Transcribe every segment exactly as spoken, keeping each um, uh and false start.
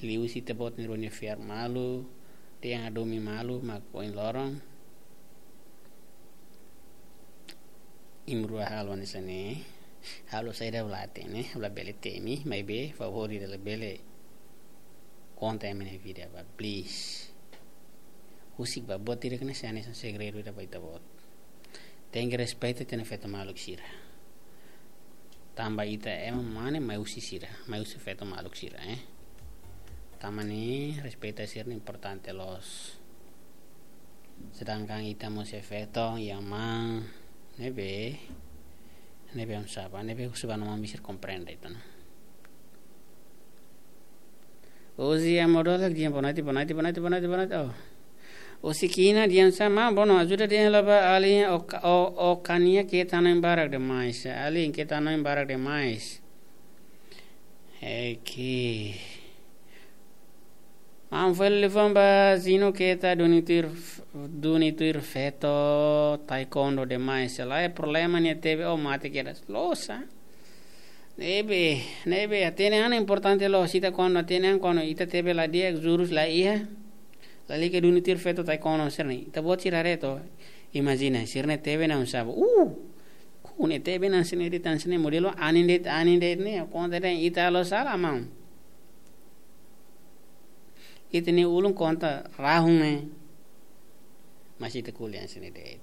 Liuhusi ita-boot nia rua nia fiar malu, dehan hadomi malu, mak ohin loron imi rua halo hanesan ne'e. Halo saida ha'u la hatene, ha'u labele temi, maibé favór ida labele konta ema nia vida ba, please. Husik ba, buat ida ne'e sai hanesan segredu ida ba ita-boot. Tenke respeita ita-nia feto maluk sira. Tanba ita ema mane mai husi sira, mai husi feto maluk sira, eh. Tanba ne'e respeita sira ne'e importante loos. Sedangkan ita mós iha feton, iha aman, ne'ebé, ne'ebé oinsá ba, ne'ebé husu ba no mami sira komprende ita, no. Ozi amor dolak diam, boa noite, boa noite, boa noite, boa noite, boa noite. Oh. Ozi kina diam sama, bono ajuda dehan hela ba alin, o, o, o kania keta hanoin barak demais. Alin keta hanoin barak demais. Eki. Maun fali liafuan ba Zino keta duni tuir, duni tuir feto taekwondo demais. Lae problema nia tebe o mate kedas. Loos, ah. Ne'ebé, ne'ebé, hatene an importante loos, ita kuandu hatene an kuandu ita tebe la di'ak, jurus la iha, lalika duni tuir feto taekwondo sira-ne'e. Ita-boot sira haree to'ok, imajina, sira-ne'e tebe ona oinsá ba. Uh! Ku ne'e tebe ona hanesan ne'e de'it, hanesan ne'e modelu anin de'it, anin de'it ne'e, konta dehan ita halo sala, maun. Ita-nia ulun konta rahun ne'e. Mas ita ko'alia hanesan ne'e de'it.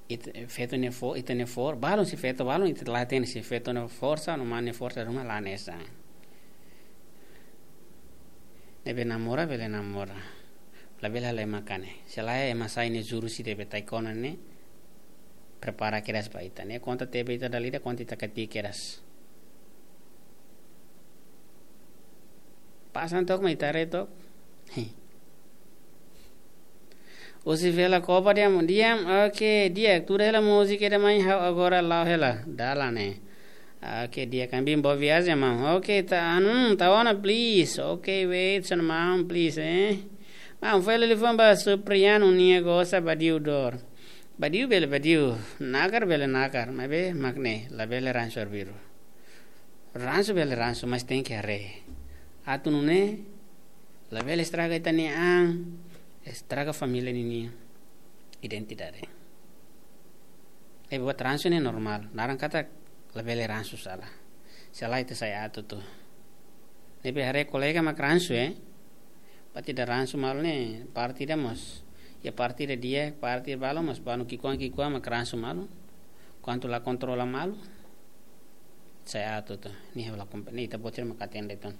Ita, feto nia fo-, ita-nia for-, balun, se feto balun, ita la hatene se feto nia forsa, no mane forsa ruma la hanesan. Ne'ebé namora, bele namora. Labele halo ema kanek. Se lae ema sai nia jurus ida be taekwondo ne'e, prepara kedas ba ita. Ne'e konta tebe ita dala ida, konta ita katii kedas. Pasan to'ok mai tare to'ok. Hei. Ozi vela kopa diam, diam, oke, di'ak, tuda hela múzika ida mai ha'u agora la'o hela, dalan ne'e. Oke, di'ak, kami boa viajen, maun. Oke, ta, anu, ta ona, please. Oke, wait, son, maun, please, eh. Maun fali liafuan ba Supriano nia gosa badiu dor. Badiu bele badiu, nakar bele nakar, maibé mak ne'e, labele ransu arbiru. Ransu bele ransu, mas tenke haree. Atu nune'e, labele estraga ita-nia an, estraga família ninia identidade. Eh, buat ransu ne'e normál, naran katak labele ransu sala. Sala ita sai atu tu. Ne'ebé haree kolega mak ransu, eh. Parte ida ransu malu ne'e, parte ida mós. Iha parte ida di'ak, parte ida balun mós, balun ki'ikoan ki'ikoan mak ransu malu. Kuandu la kontrola malu, sai atu tu. Ne'e la kompe-, ne'e ita-boot sira mak hatene de'it ona.